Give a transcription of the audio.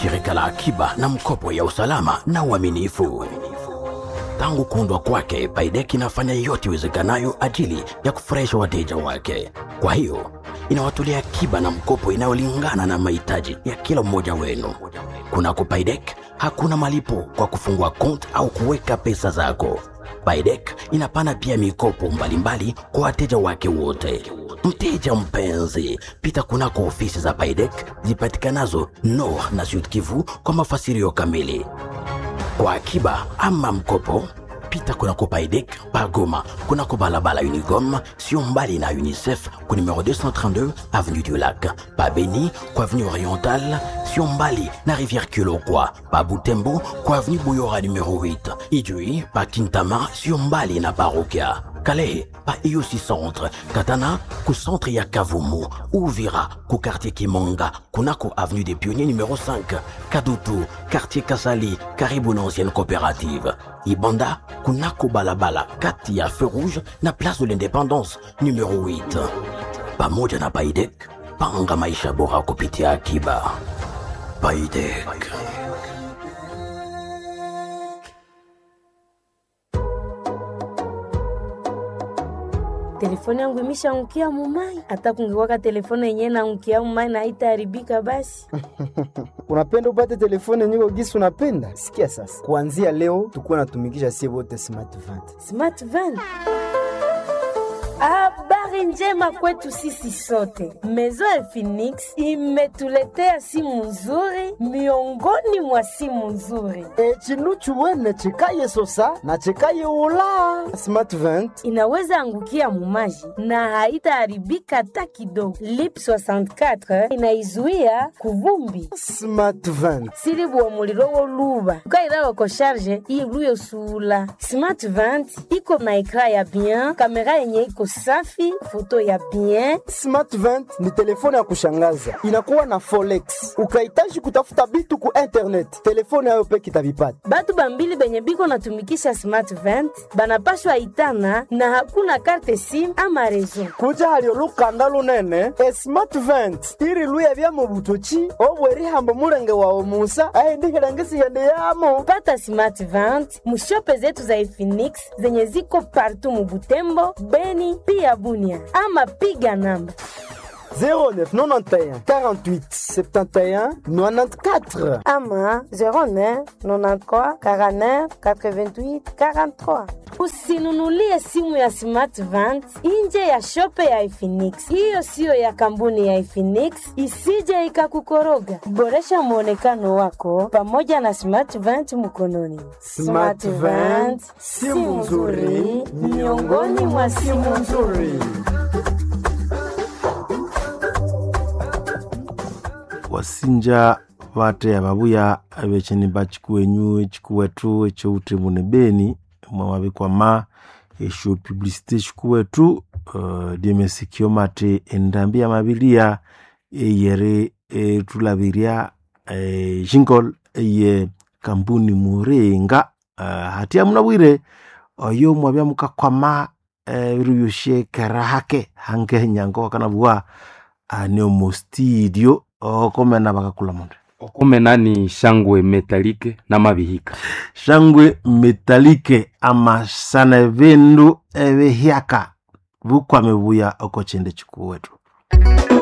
Shirika la akiba na mkopo ya usalama na uaminifu. Tangu kuundwa kwake, Paidek inafanya yote iwezekanayo ajili ya kufurahisha wateja wake. Kwa hiyo inawatolea akiba na mkopo inayolingana na mahitaji ya kila mmoja wenu. Kunako Paidek hakuna malipo kwa kufungua kont au kuweka pesa zako. Paidek inapana pia mikopo mbalimbali kwa wateja wake wote. Mteja mpenzi, pita kunako ofisi za Paidek zipatikanazo Nord na Sud Kivu kwa mafasirio kamili. Kwa akiba ama mkopo, pita kunako Paidek pa Goma, kunako balabala Unigom, sio mbali na UNICEF ku numero 232 avenue du Lac, pa Beni kwa avenue Orientale, sio mbali na rivière Kilokwa, pa Butembo kwa avenue Buyora numero 8, Ijui pa Kintama, sio mbali na Parokia. Calais pa IOC Centre, Katana ku centre ya Kavumu, Uvira ku quartier Kimonga, kunako avenue des Pionniers numéro 5, Kadutu quartier Kasali karibu na ancienne coopérative, Ibanda kunako balabala kati ya feu rouge na place de l'indépendance numéro 8. Pamoja na Paidek, panga maisha bora kupitia akiba. Paidek. Telefone yangu imeshaangukia mumai, hata kungekuwaka telefone yenyewe naangukia mumai na haitaharibika basi. Unapenda upate telefone nyiko gisi unapenda? Sikia sasa, kuanzia leo tukuwa natumikisha sie wote smart vent. Smart van. Habari njema kwetu sisi sote. Maison ya Phoenix imetuletea simu nzuri miongoni mwa simu nzuri. E, chinu chuwene chikaye sosa na chikaye ula smart vent. Inaweza angukia mumaji na haitaharibika hata kidogo. Lip 64 inaizuia kuvumbi Smart vent silibuwa muliro woluba ukairawa ko sharge iluye sula smart vent iko na ekra ya bien, kamera yenye iko safi, foto ya bien. Smart vent ni telefone ya kushangaza, inakuwa na forex. Ukahitaji kutafuta bitu ku internet, telefone yayo peke itavipata. Batu bambili benye biko natumikisha smart vent banapashwa itana na hakuna karte sim ama rezo. Kuja hali olukanda lunene e smart vent iri luya bya mu butoki obwerihambo mulenge wawe musa aindihilangisighende yamo. Pata smart vent mushope zetu za Efinix zenye ziko partu mubutembo, Beni pia Bunia, ama piga namba 0991 48 71 94 ama 09 93 49 88 43. Usinunulie simu ya Smart Vent nje ya shope ya Efinix. Hiyo siyo ya kampuni ya Efinix, isije ikakukoroga. Boresha mwonekano wako pamoja na Smart Vent mkononi. Smart Vent, simu nzuri miongoni mwa simu nzuri. Wasinja bateya babuya abecheni chikuwenyu chikuwetu ekyowuthemu ne beni mwamabikwama esyo publicité chikuwetu diemesikio mate endambi yamabilia eyeri etulabirya jingle eye kampuni muringa hatia munabwire oyo mwabya mukakwama ebiru byosye kera hake hange nyango wakanabugha ane omu studio okomena bakakula mundu. Okomena ni shangwe metalike na mabihika. Shangwe metalike amasana ebindu ebihyaka bukwame buya oko chinde chikuwetu.